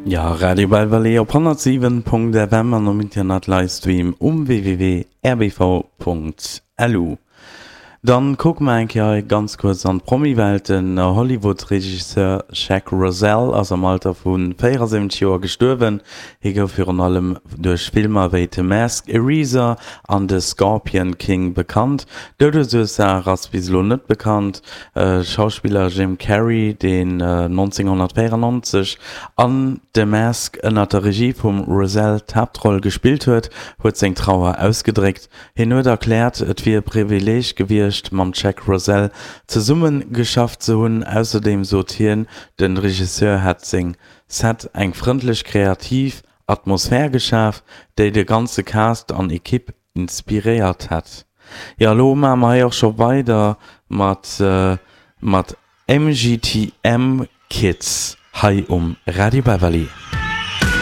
Jo, Radio Belval op 107.fm an um Internet Livestream um www.rbv.lu. Dann kucke mer eng Kéier hei ganz kuerz an d'Promi-Welt. Den Hollywood-Regisseur Jack Rozelle ass am Alter vu 74 Joer gestuerwen. Hie gouf virun allem duerch Filmer wéi The Mask, Eraser an The Scorpion King bekannt. D'Doudesursaach ass bis elo net bekannt. Schauspiller Jim Carrey, deen 1994 an The Mask ënner der Regie vum Rozelle d'Haaptroll gespillt huet, huet seng Trauer ausgedréckt. Hien huet erkläert, et wier e Privileeg gewiescht, mam Jack Rozelle zesumme geschafft ze hunn. Ausserdeem sot hien, de Regisseur hätt seng Set eng frëndlech kreativ Atmosphär geschaf, déi de ganze Cast an Ekipp inspiréiert hätt. Jo, elo maache mer hei och scho weider mat mat MGTM Kids hei um Radio Beverly.